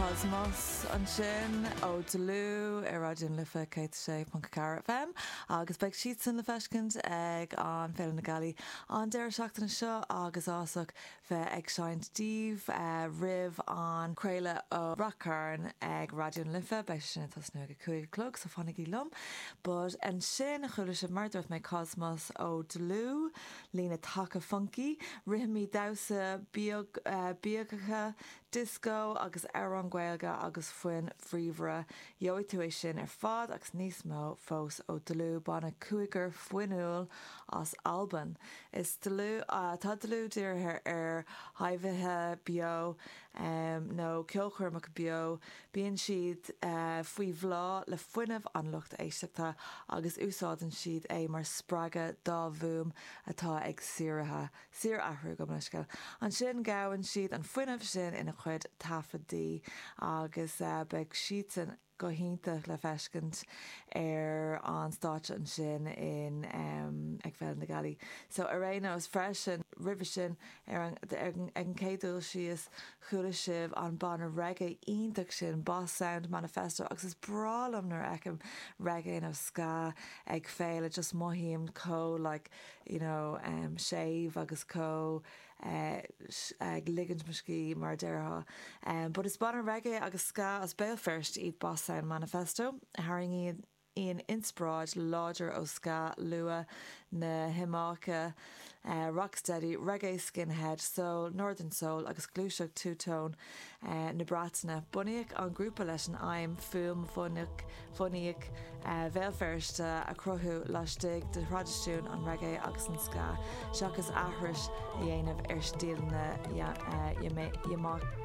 Cosmos ansin ó Dlúth ar Raidió na Life 106.4 FM agus beidh siadsan le feiscint ag an Féile na Gealaí an deireadh seachtaine seo agus ásach bheith ag seinnt daoibh roimh an craoladh ó Rath Cairn ag Raidió na Life. Beidh sé sin ag tosnú ag a 5 a chlog so fanaigí liom. But ansin chuala sibh mar a dúirt mé Cosmos ó Dlúth, líne taca funky, rithimí damhsa bíogacha, disco agus amhráin Gaeilge agus foinn bhríomhara. Gheobhaidh tú é sin ar fad agus níos mó fós ó Dlúth, banna cúigear fuinniúil as Albain. Is dlúth, tá Dlúth dírithe ar thaibhithe beo nó ceolchoirmeacha beo. Bíonn siad faoi bhláth le fuinneamh an lucht éisteachta agus úsáideann siad é mar spreagadh dá bhfuaim atá ag síorathrú, síorathrú, gabh mo leithscéal. Ansin gabhann siad an fuinneamh sin ina chuid taifeadtaí agus beidh siadsan go hiontach le feiscint ar an stáitse ansin in ag Féile na Gealaí. So ar aon nós freisin roimhe sin ar an ag an chéad dul síos chuala sibh an banna reggae iontach sin Boss Sound Manifesto agus is breá liom nuair a fheicim reggae nó ska ag féile just mothaím chomh like you know séimh agus chomh ag ligint mo scíth mar a déarfá. But is banna reggae agus ska as Béal Feirste iad Boss Sound Manifesto, a tharraingíonn inspioráid láidir ó ska luath na hIamáice, rocksteady, reggae skinhead, soul, northern soul agus gluaiseacht two-tone na Breataine. Bunaíodh an grúpa leis an aidhm fuaim bhunaidh Bhéal Feirste a chruthú laistigh de thraidisiún an reggae agus an ska, seachas aithris a dhéanamh ar stíleanna Iamáiceacha.